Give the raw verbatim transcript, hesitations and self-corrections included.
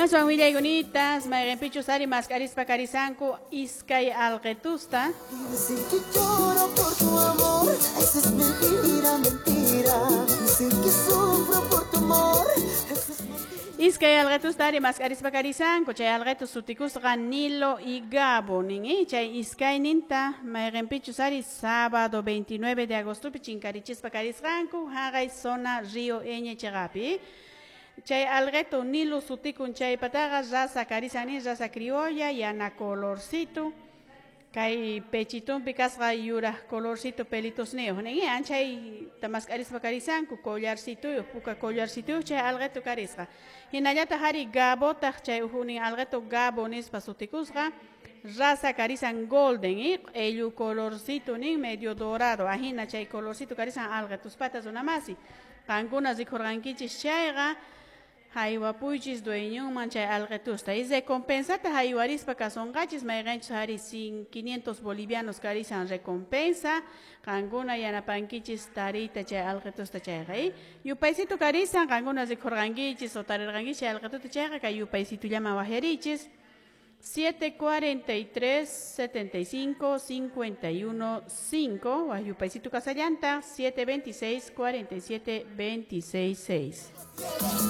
Aswan willaykunitas mayqinpichus ari mask'arispa karisanku iskay alqitusta. Dicen que lloro por tu amor, eso es mentira, mentira. Dicen que sufro por tu amor, eso es mentira. Iskay alqitusta ari mask'arispa karisanku, chay alqitu sutikusqa Nilo y Gabo nin, eh? Chay iskayninta mayqinpichus ari sábado veintinueve de agostopi chinkarichispa karisqanku haqay zona Río Eñe chiqapi. Chay alqeto Nilo sutikun chaypataqa raza karisan nin, raza criolla, yana colorcito, kay pechitumpi kasqa yuraq colorcito pelitosniyuq nin, anchay mask'arispa karisanku collarcituyuq, puka collarcituyuq chay alqeto karisqa. Hinallataq ari Gabotaq chay ujunin alqeto Gabo nispa sutikusqa, raza karisan golden, eh? Q'ellu colorcito nin, medio dorado, ahina chay colorcito karisan alqetuspata runamasi. Qankuna rikurqankichis chayqa haywapuychis dueñonman chay alqetusta. Y recompensata haywarispa kasunqachis mayqinchus ari sin quinientos bolivianos karisan recompensa. Qankuna yanapankichis tariyta chay alqetusta chayqa, eh? Yupaysito karisan qankuna rikurqankichis o tarirqankichis chay alqetuta chayqa kay yupaysitullaman wajyarichis. siete cuarenta y tres, setenta y cinco, cincuenta y uno, cinco, Guayupaisito Casallanta, siete veintiséis, cuarenta y siete, veintiséis, seis.